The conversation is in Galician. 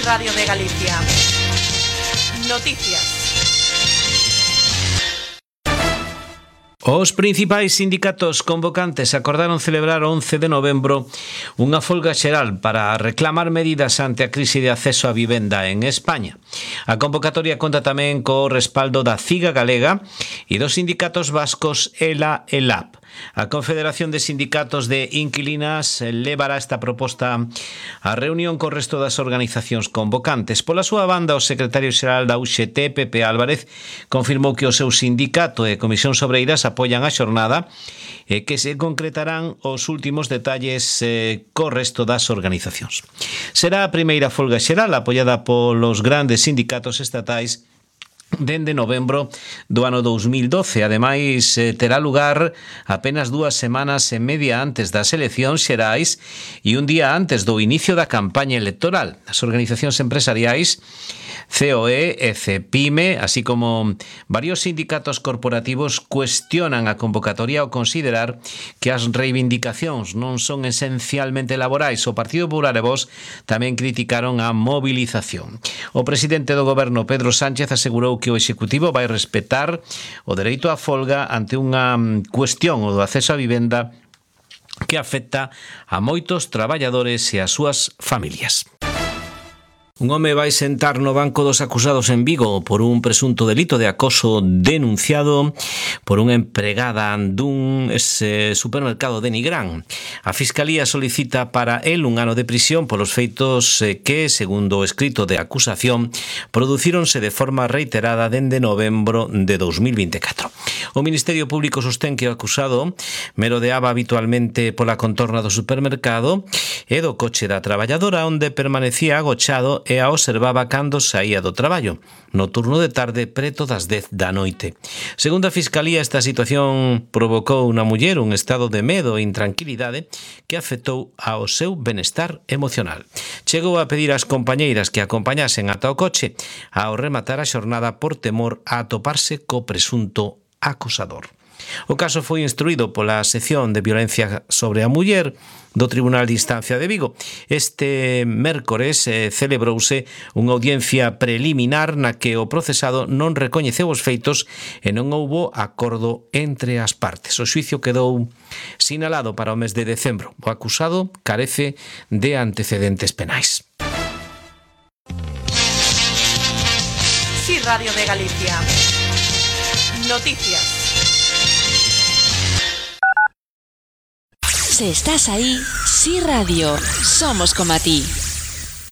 Radio de Galicia. Noticias. Os principais sindicatos convocantes acordaron celebrar o 11 de novembro unha folga xeral para reclamar medidas ante a crise de acceso á vivenda en España. A convocatoria conta tamén co respaldo da CIGA galega e dos sindicatos vascos ELA e LAB. A Confederación de Sindicatos de Inquilinas levará esta proposta á reunión co resto das organizacións convocantes. Pola súa banda, o secretario xeral da UGT, Pepe Álvarez, confirmou que o seu sindicato e Comisións Obreiras apoian a xornada e que se concretarán os últimos detalles co resto das organizacións. Será a primeira folga xeral apoiada polos grandes sindicatos estatais dende novembro do ano 2012. Ademais, terá lugar apenas 2 semanas e media antes das eleccións xerais e un día antes do inicio da campaña electoral. As organizacións empresariais COE e CEPIME, así como varios sindicatos corporativos, cuestionan a convocatoria ao considerar que as reivindicacións non son esencialmente laborais. O Partido Popular e Vox tamén criticaron a movilización. O presidente do goberno, Pedro Sánchez, asegurou que o Executivo vai respetar o dereito á folga ante unha cuestión, o do acceso á vivenda, que afecta a moitos traballadores e as súas familias. Un home vai sentar no banco dos acusados en Vigo por un presunto delito de acoso denunciado por unha empregada dun supermercado de Nigrán. A Fiscalía solicita para él un ano de prisión polos feitos que, segundo o escrito de acusación, producíronse de forma reiterada dende novembro de 2024. O Ministerio Público sostén que o acusado merodeaba habitualmente pola contorna do supermercado e do coche da traballadora, onde permanecía agochado e a observaba cando saía do traballo, no turno de tarde preto das 10 da noite. Segundo a Fiscalía, esta situación provocou na muller un estado de medo e intranquilidade que afectou ao seu benestar emocional. Chegou a pedir ás compañeiras que acompañasen ata o coche ao rematar a xornada por temor a atoparse co presunto acosador. O caso foi instruído pola sección de violencia sobre a muller do Tribunal de Instancia de Vigo. Este mércores celebrouse unha audiencia preliminar na que o procesado non recoñeceu os feitos e non houbo acordo entre as partes. O xuicio quedou sinalado para o mes de decembro. O acusado carece de antecedentes penais. Sí, Radio de Galicia. Noticias. Si estás ahí, Sí Radio, somos como a ti.